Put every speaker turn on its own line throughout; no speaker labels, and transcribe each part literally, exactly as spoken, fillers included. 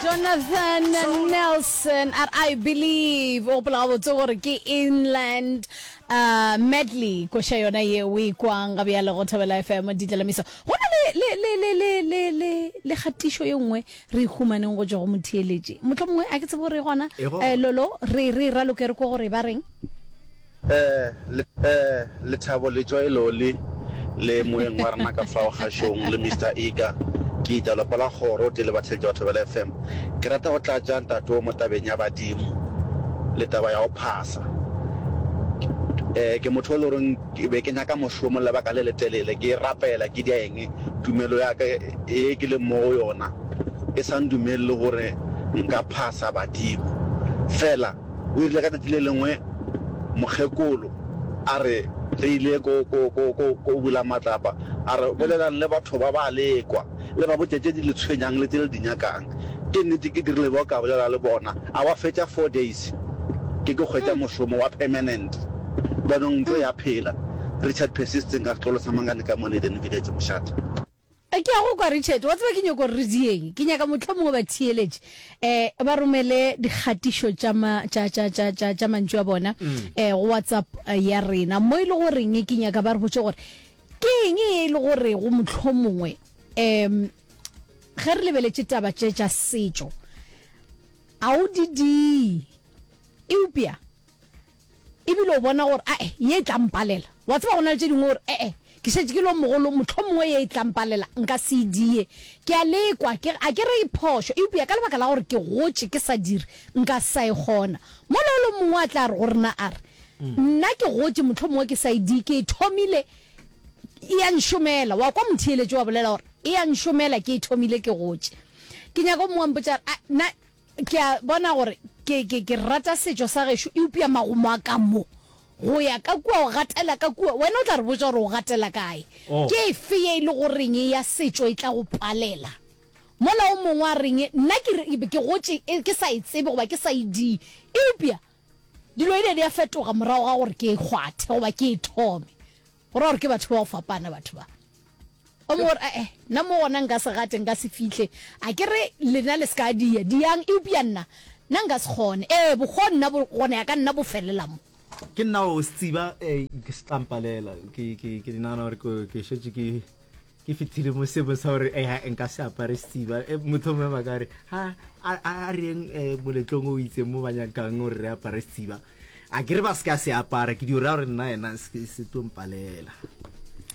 Jonathan Nelson a re I believe o gopola gabotse gore ke inland uh, medley koša yona ye o e kwang ga bjale go Thobela F M ditlalamiso. Go na le le le le le le le le kgatišo ye nngwe re e humaneng go tšwa go motheeletši, mohlomongwe a ke tsebe gore e gona.
E gona.
eh, lolo re re raloke re kwe gore ba reng.
Eh, le, eh, Lethabo le Joy Loli, le moeng wa rena ka fao kgašong, le Mister Ika. Ke ita lapa la kgoro tee le batheeletši ba Thobela F M. Ke rata go tlatša ntate wo mo tabeng ya badimo le taba ya go phasa. Eh, ke motho o le goreng ke be ke nyaka mošomo lebaka le letelele, ke rapela, ke dia eng, tumelo ya ka ye ke leng mo go yona e sa ndumelele gore nka phasa badimo. Fela o rile ka tšatši le lengwe mokgekolo a re re ile ko, ko, ko, ko, ko bula matlapa, a re bolelang le batho ba ba lekwa, le ba botše tše di le tshwenyang le tše le di nyakang. Ke nnete ke dirile bjalo ka bolela le bona, a wa fetša four days ke ke hwetša mošomo wa permanent. Bjanong ntlo ya phela. Richard Persisting ka setlolo sa Mangane ka mo Leden Village, Mošate.
Ke a go kwa Richard, wa tseba ke nyoko gore re dieng. Ke nyaka mohlomongwe batheeletši um ba romele dikgatišo tša ma, tša, tša, tša, tša, tša mantšu a bona um go WhatsApp ya rena mo e le goreng ke nyaka ba re botše gore ke eng e le gore go mohlomongwe um ge re lebeletše taba tše tša setšo a o di die eupša ebile o bona gore ae ye e tla mpalela. Wa tseba go na le tše dingwe gore ee ke šetše ke le mogolo, mohlomongwe ye e tla mpalela nka se e die. Ke a lekwa, ke a ke re e phošo, eupša ka lebaka la gore ke gotše ke sa dire nka se sa e kgona. Mola o le mongwe a tla re go rena a re nna ke gotše mohlomongwe ke sa e die, ke e thomile e a nšomela. Wa kwa motheeletši wa bolela gore e a nšomela, ke e thomile ke gotše. Ke nyaka o mongwe a mpotša a nna ke a bona gore ke ke ke rata setšo sa gešo, eupša magomo a ka mo go ya ka kua o gatela ka kua, wena o tla re botša gore o gatela kae.
Oh.
Ke efe ye e le goreng ya setšo e tla go palela? Mola o mongwe a reng nna ke re ke gotše ke sa e tsebe goba ke sa e die, eupša dilo e di a fetoga morago ga gore ke e kgwathe goba ke e thome. Go ra gore ke batho ba go fapana batho ba. O mongwe gore ee nna mo gona nka se gate, nka se fihle, a ke re lena le se ka dia diang, eupša nna nna nka se kgone. Ee bokgwa nna bo gona ya ka nna bo felela mo.
Ke nna o se tsiba eh, ke se tlampalela ke ke ke nagana gore ke ke šetše ke ke fetile mo seemong sa gore eh, nka se apare setsiba. Eh, motho mongwe ba ka re ha a a re yeng eh, moletlong o itseng mo ba nyakang gore re apare setsiba, a ke re ba se ka se apara, ke dio ra gore nna ena se se tlo mpalela.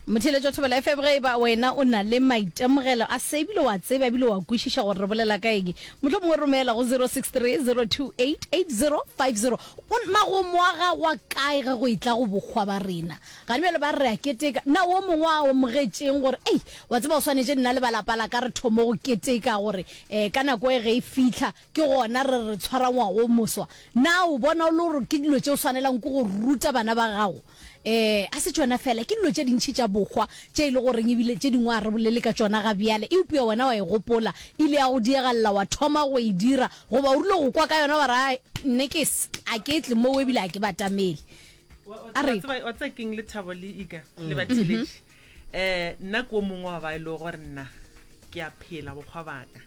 Motheeletši wa Thobela F M, ge e ba wena o na le maitemogelo a se ebile wa tseba ebile wa kwešiša gore re bolela ka eng, mohlomongwe romela go zero six three zero two eight eight zero five zero. Magomo a gago a kae ge go etla go bokgwa ba rena? Gane bjale ba re re a keteka. Na wo mongwe a amogetšeng gore ei wa tseba o swanetše nna le ba lapa la ka re thome go keteka gore um ka nako e ge e fihla ke gona re re tshwara ngwaga o moswa? Na o bona o le gore ke dilo tše o swanelang ke go ruta bana ba gago? Um a se tšona fela, ke dilo tše dintši tša bokgwa tše e le goreng ebile tše dingwe a re bolele ka tšona ga bjale, eupša wena wa e gopola, ile ya go diegalela wa thoma go e dira, goba o rile go kwa ka yona wa re, Ai, nne ke a ke tle moo ebile a ke batamele. A re
Wa tseba keng, Lethabo le Ika le batheeletši, um nna ke o mongwe wa ba e le gore nna ke a phela bokgwa baka,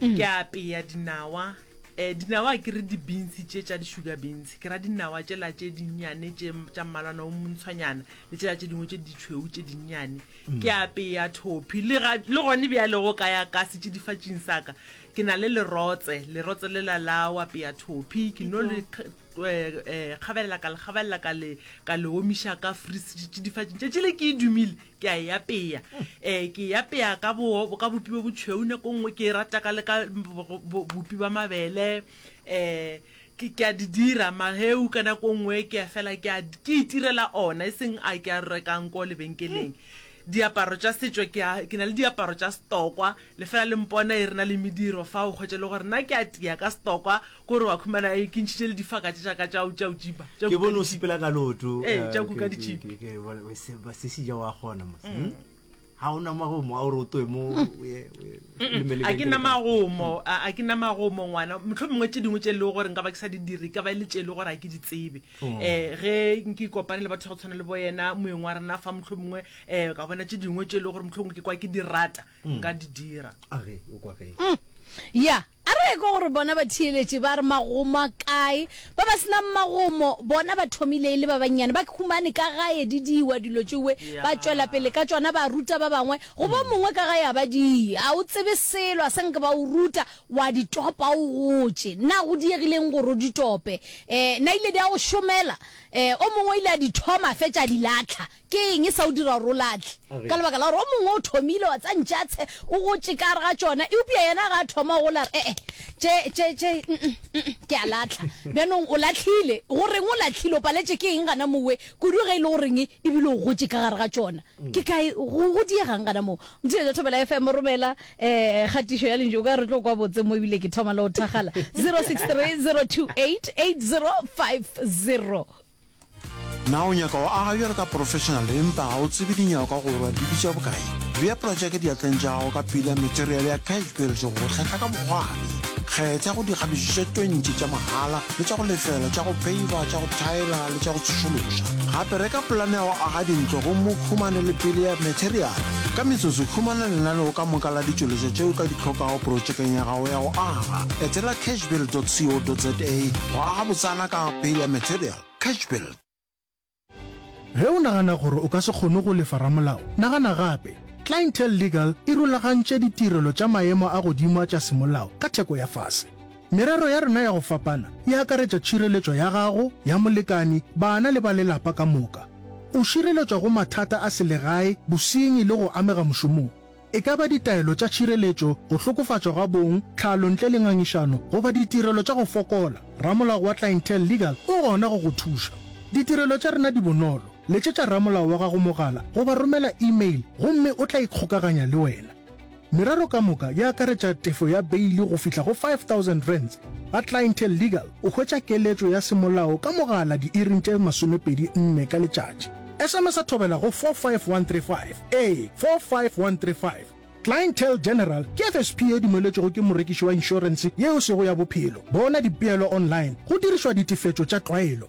ke apea dinawa. Um dinawa ke re di-beans tše tša di-sugar beans, ke ra dinawa tšela tše dinnyane tše tša mmalwana o montshwanyana le tšela tše dingwe tše ditšhweu tše dinnyane. Ke apea thophi le ga le gone bjale go ka ya ka setšidifatšing sa ka ke na le lerotse, lerotse lela la o apea thophi, ke no le kgabelela ka le kgabelela ka le ka le omiša ka fridge tšatši le ke e dumile ke a e apea. Um ke e apea ka bo ka bopi bo botšhweu, nako nngwe ke e rata ka le ka bopi ba mabele. Um ke ke a di dira maheu ka nako nngwe, ke a fela ke a ke itirela ona e seng a ke a rekang ko lebenkeleng. Diaparo tša setšo ke a ke na le diaparo tša setokwa, le fela le mpona e re na le mediro fa o hwetša le gore nna ke a tia ka setokwa, kore wa khumana e ke ntšhitše le difaka tše tša ka tša tša o tšipa tša
Ke bone o sepela ka loto.
Ee, tša kuka ditšhipi.
Ke bone se se se ja wa kgona mos. Ha o na magomo a gore o toe mo o ye
a ke na magomo, a ke na magomo ngwana. Mohlomongwe tše dingwe tše e lego gore nka ba ke sa di dire ka ba e le tše e le gore a ke di tsebe. um ge nke kopane le batho go tshwana le bo yena moeng wa rena fa, mohlomongwe um ka bona tše dingwe tše e le gore mohlomongwe ke kwa ke di rata, nka di dira.
Age o kwa ge
Ya A re ekwe gore bona batheeletši ba re magomo a kae. Ba ba se nang magomo bona ba thomile e le ba bannyane, ba humane ka gae di diwa dilo tšewe, ba tšwela pele ka tšona, ba ruta ba bangwe. Goba o mongwe ka gae a ba die, a o tsebe selo, a sa nke ba o ruta, wa di topa o gotše. Na go diegile eng gore o di tope? Eh, na ile di a go šomela? Eh, o mongwe o ile a di thoma a fetša a di lahla. Ke eng e sa o dira gore o lahle? Ka lebaka la gore o mongwe o thomile wa tsa ntšatshe, o gotše ka gare ga tšona, eupša yena ga a thoma go gola a re, E-e, tše, tše, tše, mm-mm, mm-mm, ke a lahla. Bjanong o lahlile. Go reng o lahlile? O paletše ke eng gana mowe? Kudu ge e le goreng ebile o gotše ka gare ga tšona. Ke kae, go, go diegang gana moo? Motšheletša Thobela F M, romela um kgatišo ya lentšu. O ka re tlo kwa botse mo ebile ke thoma le go thakgala. Zero six three, zero two eight, eight zero five zero.
Na o nyaka go aga bjalo ka professional empa ga o tsebe dinyakwa gore di bitša bokae? Bea projeke diatleng tša gago ka pila material ya Cashbuild go go hlahla ka bokgwari. Kgetha go dikgabišo tše twenty tša mahala le tša go lefela tša go peiva, tša go thaela le tša go tsošološa. Gape reka polane ya go aga dintlo gomme o humane le pele ya material. Ka metsotso, humana lenaneo ka moka la ditšweletšwa tše o ka di hlokago projekeng ya gago ya go aga. Etela cashbuild dot co dot za go aga botsana ka pele ya material. Cashbuild.
Ge o nagana gore o ka se kgone go lefa ramolao, nagana gape. Clientele Legal e rulagantše ditirelo tša maemo a godimo a tša semolao ka theko ya fase. Merero ya rena ya go fapana e akaretša tšhireletšo ya gago, ya molekani, bana le ba lelapa ka moka. O šireletšwa go mathata a selegae, bosenyi le go amega mošomong. E ka ba ditaelo tša tšhireletšo, go hlokofatšwa ga bong, tlhalo ntle le ngangišano, goba ditirelo tša go fokola, ramolao wa Clientele Legal o gona go go thuša. Ditirelo tša rena di bonolo, letšetša ramolao wa gago mogala goba romela email gomme o tla ikgokaganya le wena. Merero ka moka e akaretša tefo ya beili go fihla go five thousand rands. Ga Clientele Legal o hwetša keletšo ya semolao ka mogala diiring tše masomepedi nne ka letšatši. S M S a thobela go four five one three five, ee, four five one three five. Clientele General ke F S P ye dumeletšwego ke morekiši wa inšorense ye e sego ya bophelo. Bona dipeelo online go dirišwa ditefetšo tša tlwaelo.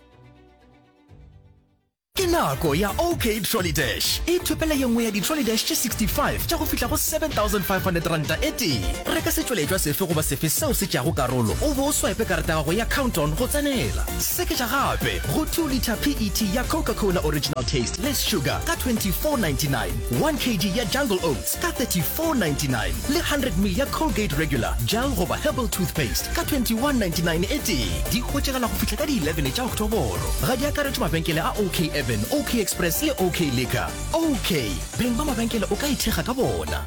Ke nako ya OK Trolley Dash. Ithopele ye nngwe ya di-trolley dash tše sixty five tša go fihla go seven thousand five hundred ranta e tee. Reka setšweletšwa sefe goba sefe seo se tšeago karolo o be o swipe karata ya gago ya Count-On go tsenela. Seketša gape go two litre P E T ya Coca-Cola Original Taste Less Sugar ka twenty-four ninety-nine, one kg ya Jungle Oats ka thirty-four ninety-nine le hundred ml ya Colgate Regular, Gel goba Herbal Toothpaste ka twenty-one ninety-nine e tee. Di hwetšagala go fihla ka di eleven tša Oktoboro. Ga di akaretšwe mabenkele a OK Urban, OK Express le OK Liquor. OK, beng ba mabenkele o ka ithekga ka bona.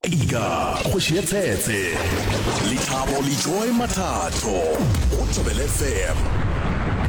Ika, kgoši ya tshetse, Lethabo le Joy Mathatho, go Thobela F M.